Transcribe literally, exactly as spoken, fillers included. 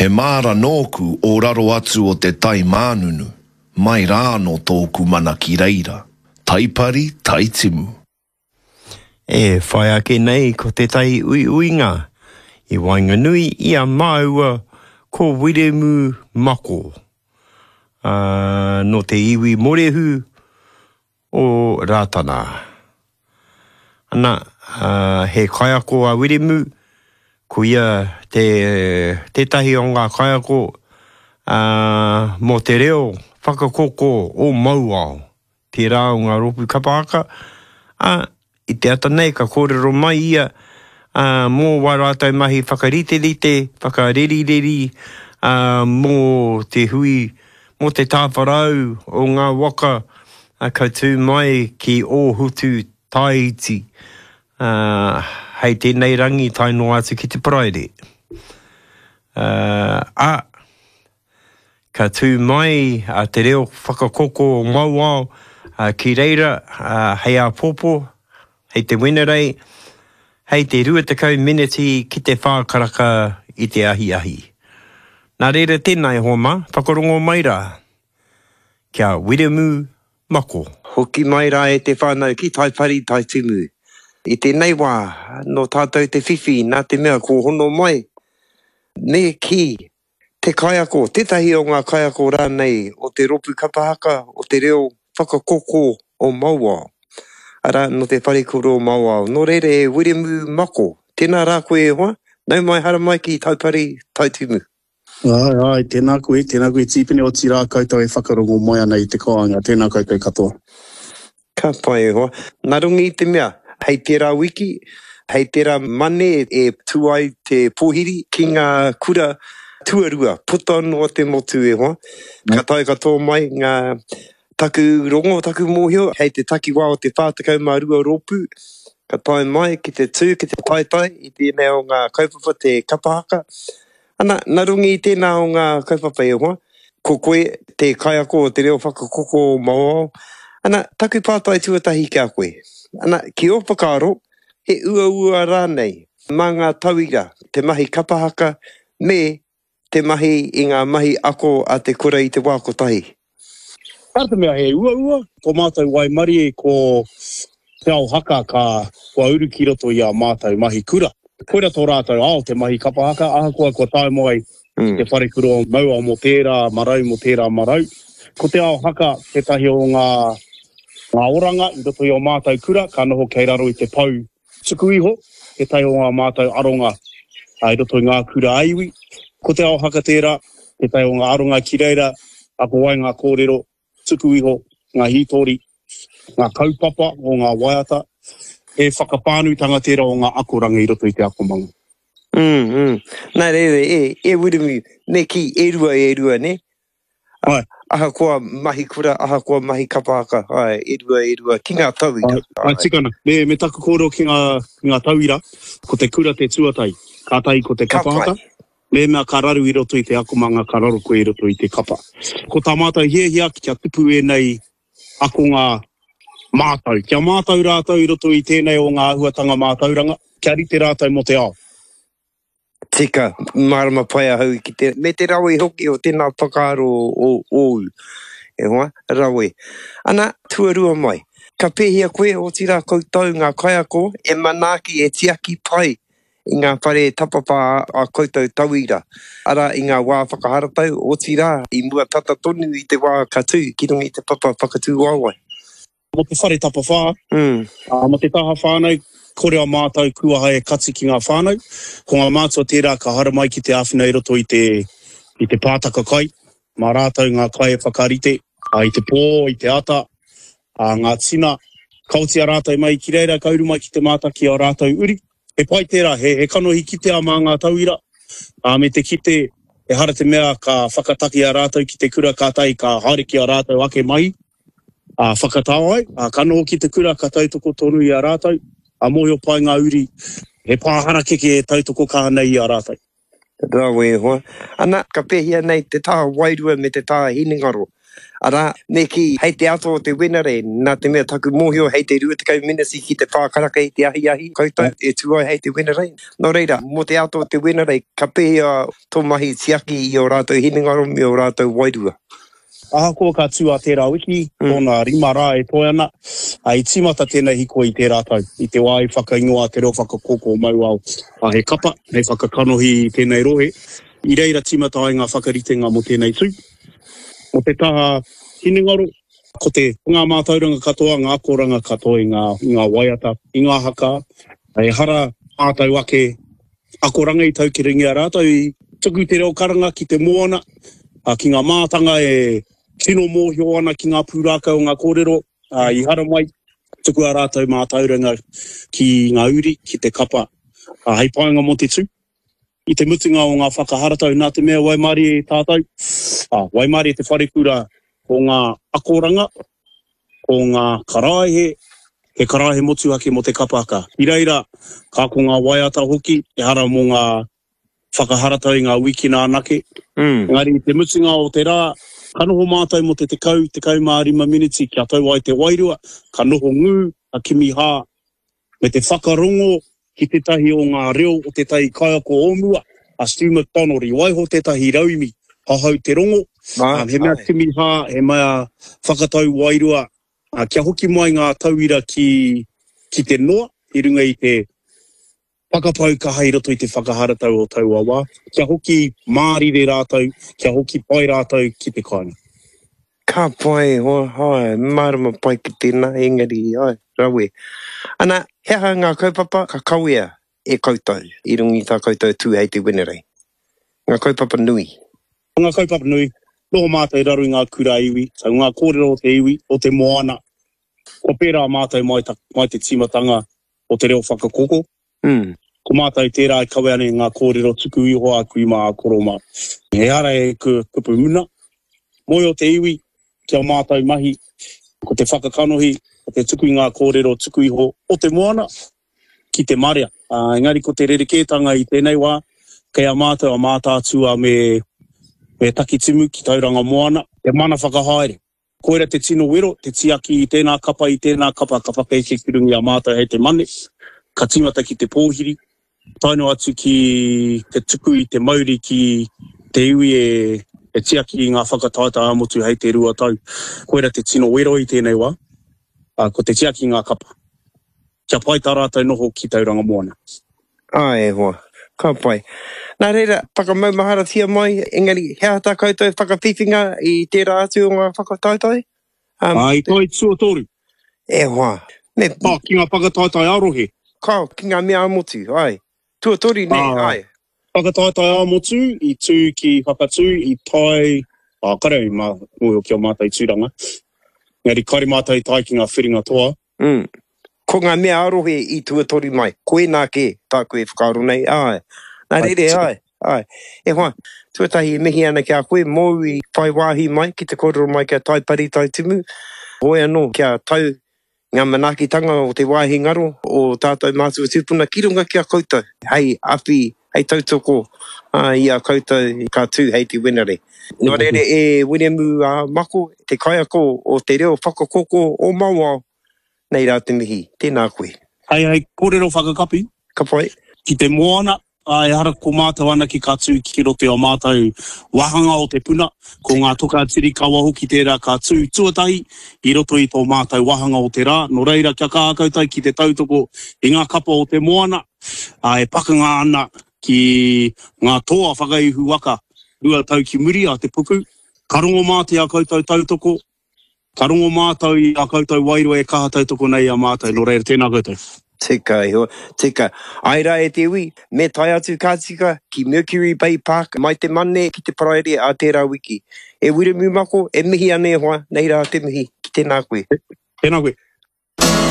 He māra nōku o raro atu o te tai mānunu, mai rā anō tōku mana ki reira. Taipari, taitimu. E whai ake nei ko tētahi uiuinga i waenganui i a māua ko Wiremu Mako, ā, nō te iwi Morehu o Rātana. Ana, ā, he kaiako a Wiremu, ko ia te, tētahi o ngā kaiako, ā, mō te reo whakakoko o Mauao, tērā o ngā rōpū kapa haka, ā, i te ata nei ka kōrero mai ia, ā, mō wā rātou mahi whakariterite, whakarerireri, ā, mō te hui, mō te tāwharau o ngā waka ka tū mai ki Ōhutu Tāiti, ā, hei tēnei rangi tae noa atu ki te Paraire. Ā, ā, ka tū mai a Te Reo Whakakoko o Mauao ki reira hei āpōpō, hei te Wenerei, hei te rua tekau meneti ki te whā karaka i te ahiahi. Nā reira tēnā e hoa mā, whakarongo mai rā ki a Wiremu Mako. Hoki mai rā e te whānau ki Taipari, Taitimu. I tēnei wā, nō tātou te whiwhi nā te mea kua hono mai, me kī, Te kaiako, tētahi o ngā kaiako rānei o te rōpū kapa haka o te reo whakakoko o Mauao, arā, nō te wharekura o Mauao. Nō reira e Wiremu Mako, tēnā rā koe e hoa, nau mai haramai ki Taupari, Taitimu. Āe, āe, tēnā koe, tēnā koe Tīpene, otirā koutou e whakarongo mai ana i te kāinga, tēnā koutou katoa. Ka pai e hoa. Nā runga i te mea, hei tērā wiki, hei tērā Mane e tū ai te pōhiri ki ngā kura tuarua puta noa te motu e hoa. Ka tae katoa mai ngā taku rongo, taku mōhio, hei te takiwā o te whā tekau mā rua rōpū, ka tae mai ki te tū, ki te taetae i tēnei o ngā kaupapa te kapa haka. Ana, nā runga i tēnā o ngā kaupapa e hoa, ko koe te kaiako o te reo whakakoko o Mauao. Ana, taku pātai tuatahi ki a koe. Ana, ki ō whakaaro, he uaua rānei mā ngā tauira te mahi kapa haka me te mahi i ngā mahi ako a te kura i te wā kotahi? Nā te mea he uaua, tō mātou waimarie ko Te Ao Haka ka kua uru ki roto i ā mātou mahi kura. Koira tō rātou ao te mahi kapa haka, ahakoa kua tae mai ki te wharekura o Mauao mō tērā marau, mō tērā marau. Ko Te Ao Haka tētahi o ngā ngā oranga i roto i ō mātou kura, ka noho kei raro i te pou tuku iho, tētahi o ngā mātou aronga i roto i ngā kura ā-iwi. Ko Te Ao Haka tērā, tētahi o ngā aronga ki reira ako ai ngā kōrero tuku iho, ngā hītori, ngā kaupapa o ngā waiata. He whakawhānuitanga tērā o ngā akoranga i roto i te akomanga. Mm, mm. Nā reira, e, e Wiremu, me kī, e rua, e rua, nē? Āe. Ahakoa mahi kura, ahakoa mahi kapa haka, āe, e rua, e rua, ki ngā tauira. Āe, āe, tika ana. Me, me taku kōrero ki ngā, ki ngā tauira, ko te kura te tuatahi, kātahi ko te Ka kapa pai. haka. Mēnā ka raru i roto i te akomanga, ka raro koe i roto i te kapa. Ko tā mātou hiahia kia tupu ēnei akonga mātau, kia mātau rātou i roto i tēnei o ngā āhuatanga mātauranga, kia rite rātou mō te ao. Tika, mārama pai ahau ki te, me te rawe hoki o tēnā whakaaro o ōu, e hoa, rawe. Ana, tuarua mai, ka pēhea koe, otirā koutou ngā kaiako e manaaki, e tiaki pai i ngā whare tapawhā a koutou tauira, arā, i ngā wā whakaharatau, otirā, i mua tata tonu i te wā ka tū ki runga i te papa whakatū waewae. Mō te whare tapawhā, ā, mō te taha whānau, kore a mātou kuaha e kati ki ngā whānau. Ko ngā mātua tērā ka haramai ki te āwhina i roto i te, i te pātaka kai. Mā rātou ngā kai e whakarite, ā, i te pō, i te ata, ā, ngā tina. Ka oti a rātou mai ki reira, ka uru mai ki te mātaki o rātou uri. He pai tērā, he, he kanohi kitea mā ngā tauira, ā, me te kite, ehara te mea ka whakataki a rātou ki te kura kātahi ka haere ki a rātou ake mahi. Ā, whakatau ai, ā, ka noho ki te kura, ka tautoko tonu i a rātou, ā, mōhio pai ngā uri, he pā harakeke e tautoko kaha nei i a rātou. Rawe e hoa. Ana, ka pēhea nei te taha wairua me te taha hinengaro Arā, me kī, hei te ata o te Wenerei, nā te mea taku mōhio hei te rua tekau meneti ki te whā karaka i te ahiahi koutou e tū ai hei te Wenerei. Nō reira, mō te ata o te Wenerei, ka pēhea tō mahi tiaki i ō rātou hinengaro me ō rātou wairua? Ahakoa ka tū a tērā wiki, tōna rima rā e toe ana, ā, i tīmata tēnei hikoi i tērā tau, i te wā i whakaingoa te reo whakakōkō Mauao he kapa hei whakakanohi i tēnei rohe. I reira tīmata ai ngā whakaritenga mō tēnei tū. Mō te taha hinengaro, ko te ngā mātauranga katoa, ngā akoranga katoa i ngā, i ngā waiata, i ngā haka, ehara mātou ake akoranga i taukiringia rātou i tuku te reo karanga ki te moana, ki ngā mātanga e tino mōhio ana ki ngā pūrākau o ngā kōrero i haramai, tuku ā rātou mātauranga ki ngā uri, ki te kapa, hei painga mō te tū. I te mutunga o ngā whakaharatau, nā te mea waimarie tātou, waimarie te wharekura ko ngā akoranga, ko ngā karaehe, he karaehe motuhake mō te kapa haka. I reira, ka ako ngā waiata hoki, ehara mō ngā whakaharatau i ngā wikina anake. Mm. Engari i te mutunga o te rā, ka noho mātou mō te tekau, tekau mā rima miniti kia tau ai te wairua, ka noho ngū, ka kimi hā, me te whakarongo ki tētahi o ngā reo o tētahi kaiako o mua, a Stu McDonald, i waiho tētahi rauemi hahau te rongo, Mā, he mea ai. kimi hā, he mea whakatau wairua, kia hoki mai ngā tauira ki, ki te noa, i runga i te whakapau kaha i roto i te whakaharatau o taua wā, kia hoki mārire rātou, kia hoki pai rātou ki te kāinga. Ka pai, hoa, hai, mārama pai ki tēnā, engari, ai, rawe. Ana, he aha ngā kaupapa ka kawea e koutou i runga i tā koutou tū hei te Wenerei? Ngā kaupapa nui. Ngā kaupapa nui, noho mātou i raro i ngā kura iwi, so ngā kōrero o te iwi, o te moana. Kua pērā mātou mai, ta, mai te tīmatanga o te reo whakakoko. Mm. Ko mātou tērā e kawe ana i ngā kōrero tuku iho a kui mā a koro mā. Ehara e kupu muna. Moe o te iwi, ki a mātou mahi, ko te whakakanohi, ko te tuku i ngā kōrero tuku iho o te moana ki te marea. Uh, engari ko te rerekētanga i tēnei wā, kei a mātou a Mātaatua me, me Takitimu ki Tauranga Moana, te mana whakahaere. Koira te tino wero, te tiaki i tēnā kapa, i tēnā kapa, ka whakaeke ki runga i a mātou hei te mane, ka tīmata ki te pōhiri, tae noa atu ki te tuku i te mauri ki te iwi e, e tiaki i ngā whakataetae ā-motu hei te rua tau. Koira te tino wero i tēnei wā, uh, ko te tiaki i ngā kapa. Kia pai tā rātou noho ki Tauranga Moana. Ai, e hoa, ka pai. Nā reira, whakamaumaharatia mai, engari, he aha tā koutou whakawhiwhinga i tērā atu o ngā whakataetae? Um, Ā, i toi tuatoru. E hoa. Me... Oh, ki ngā whakataetae ā-rohe. Kao, ki ngā mea ā-motu, ai. Tuatoru, ne, Ā, ai. Whakataetae ā-motu, i tū ki Whakatū, i tae, ā, kare i mā, mōhio ki a mātou tūranga. Engari, kare mātou i tae ki ngā whiringa toa. Mm. Ko ngā mea ā-rohe i tuatoru mai, koinā kē tāku e whakaaro nei, ai. Nā reira, ai, ai. E hoa, tuatahi e mihi ana ki a koe, mōu i whai wāhi mai ki te kōrero mai kia Taipari Taitimu, hoi anō kia tau ngā manaakitanga o te wāhi ngaro o tātou mātua tūpuna ki runga ki a koutou, hei awhi, hei tautoko i a koutou ka tū hei te Wenerei. Nō reira e Wiremu Mako, te kaiako o te reo whakakoko o Mauao, nei rā te mihi, tēnā koe. Hei, hei kōrero whakakapi. Ka pai. Ki te moana, ā, ehara ko mātou anake ka tū ki roto i ō mātou wāhanga o te puna, ko ngā toka tirikawa hoki tērā ka tū tuatahi i roto i tō mātou wāhanga o te rā. Nō reira, kia kaha koutou ki te tautoko i ngā kapa o te moana, ā, e pakanga ana ki ngā toa whakaihu waka rua tau ki muri a te puku. Ka rongo mātou i ā koutou tautoko, ka rongo mātou i ā koutou wairua e kaha tautoko nei i a mātou, nō reira, tēnā koutou. Tika iho, tika. Ai rā e te iwi, me tae atu ka tika ki Mercury Bay Park mai te Mane ki te Paraire a tērā wiki. E Wiremu Mako, e mihi ana e hoa, nei rā te mihi, ki tēnā koe. Tēnā koe.